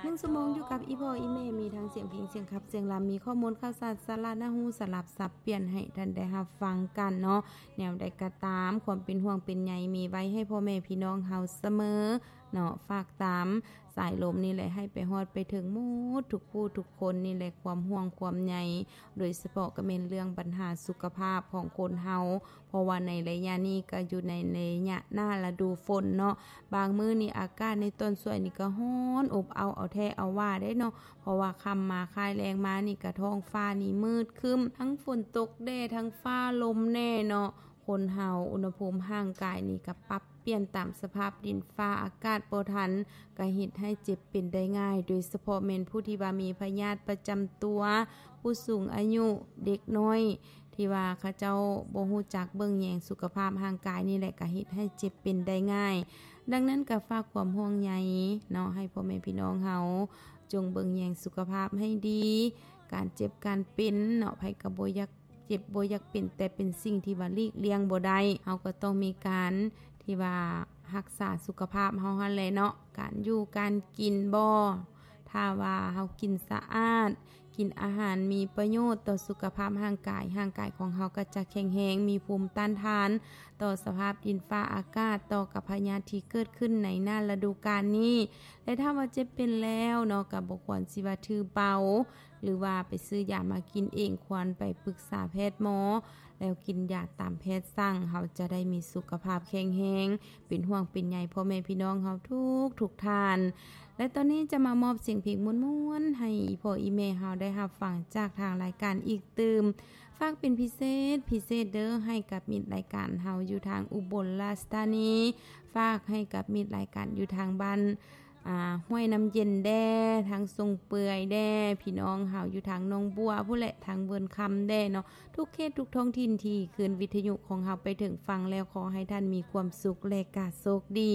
ໜຶ່ງຊົ່ວໂມງຢູ່ກັບອີ່ພໍ່ອີ່ແມ່ ມີທັງສຽງເພງ ສຽງຂັບ ສຽງລຳ ມີຂໍ້ມູນຂ່າວສານ ສາລະໜ້າຮູ້ ສະຫຼັບສັບປ່ຽນໃຫ້ທ່ານໄດ້ຮັບຟັງກັນເນາະ. ແນວໃດກໍຕາມ ຄວາມເປັນຫ່ວງເປັນໃຍມີໄວ້ໃຫ້ພໍ່ແມ່ພີ່ນ້ອງເຮົາສະເໝີເນາະ. ຝາກຕາມສາຍລົມນີ້ແຫຼະ ໃຫ້ໄປຮອດໄປເຖິງໝົດທຸກຜູ້ທຸກຄົນນີ້ແຫຼະ ຄວາມຫ່ວງຄວາມໃຍ ໂດຍສະເພາະກໍແມ່ນເລື່ອງບັນຫາສຸຂະພາບຂອງຄົນເຮົາ ເພາະວ່າໃນໄລຍະນີ້ກໍຢູ່ໃນໄລຍະໜ້າລະດູຝົນເນາະ. ບາງມື້ນີ້ອາກາດໃນຕອນສວຍນີ້ກໍຮ້ອນອົບເອົ້າເອົາແທ້ເອົາວ່າເດ້ເນາະ ເພາະວ່າຄ່ຳມາຄ້າຍແລງມານີ້ກໍທ້ອງຟ້ານີ້ມືດຄຶ້ມ ທັງຝົນຕົກແດ່ ທັງຟ້າລົມແດ່ເນາະ. ຄົນເຮົາອຸນຫະພູມຮ່າງກາຍນີ້ກໍປັບປ່ຽນຕາມສະພາບດິນຟ້າອາກາດບໍ່ທັນ ກໍເຮັດໃຫ້ເຈັບເປັນໄດ້ງ່າຍ ໂດຍສະເພາະແມ່ນຜູ້ທີ່ວ່າມີພະຍາດປະຈຳຕົວ, ຜູ້ສູງອາຍຸ, ເດັກນ້ອຍ ທີ່ວ່າເຂົາເຈົ້າບໍ່ຮູ້ຈັກເບິ່ງແຍງສຸຂະພາບຮ່າງກາຍນີ້ແຫຼະ ກໍເຮັດໃຫ້ເຈັບເປັນໄດ້ງ່າຍ. ດັ່ງນັ້ນກໍຝາກຄວາມຫ່ວງໃຍເນາະ ໃຫ້ພໍ່ແມ່ພີ່ນ້ອງເຮົາ ຈົ່ງເບິ່ງແຍງສຸຂະພາບໃຫ້ດີ. ການເຈັບການເປັນເນາະ ໃຜກໍບໍ່ຢາກເຈັບ ບໍ່ຢາກເປັນ ແຕ່ເປັນສິ່ງທີ່ວ່າຫຼີກລ່ຽງບໍ່ໄດ້. ເຮົາກໍຕ້ອງມີການທີ່ວ່າຮັກສາສຸຂະພາບເຮົາຫັ້ນແຫຼະເນາະ ການຢູ່ການກິນບໍ ຖ້າວ່າເຮົາກິນສະອາດ ກິນອາຫານມີປະໂຫຍດຕໍ່ສຸຂະພາບຮ່າງກາຍ, ຮ່າງກາຍຂອງເຮົາກໍຈະແຂງແຮງ, ມີພູມຕ້ານທານຕໍ່ສະພາບດິນຟ້າອາກາດ, ຕໍ່ກັບພະຍາດທີ່ເກີດຂຶ້ນໃນໜ້າລະດູການນີ້. ແລະ ຖ້າວ່າເຈັບເປັນແລ້ວເນາະ, ກໍບໍ່ຄວນຊິວ່າຖືເບົາ ຫຼືວ່າໄປຊື້ຢາມາກິນເອງ, ຄວນໄປປຶກສາແພດໝໍ ແລ້ວກິນຢາຕາມແພດສັ່ງ, ເຮົາຈະໄດ້ມີສຸຂະພາບແຂງແຮງ. ເປັນຫ່ວງເປັນໃຍພໍ່ແມ່ພີ່ນ້ອງເຮົາທຸກໆທ່ານ. ແລະ ຕອນນີ້ຈະມາມອບສຽງເພງມ່ວນໆ ໃຫ້ອີ່ພໍ່ອີ່ແມ່ເຮົາໄດ້ຮັບຟັງຈາກທາງລາຍການອີກຕື່ມ. ຝາກເປັນພິເສດ ພິເສດເດີ້ ໃຫ້ກັບມິດລາຍການເຮົາຢູ່ທາງອຸບົນລາຊະທານີ, ຝາກໃຫ້ກັບມິດລາຍການຢູ່ທາງບ້ານ ອາ ຫ້ວຍນ້ຳເຢັນແດ່, ທາງຊົງເປືອຍແດ່, ພີ່ນ້ອງເຮົາຢູ່ທາງໜອງບົວພຸ້ນແຫຼະ, ທາງເວີນຄຳແດ່ເນາະ, ທຸກເຂດທຸກທ້ອງຖິ່ນທີ່ຄື້ນວິທະຍຸຂອງເຮົາໄປເຖິງຝັ່ງແລ້ວ, ຂໍໃຫ້ທ່ານມີຄວາມສຸກ ແລະ ກະໂຊກດີ.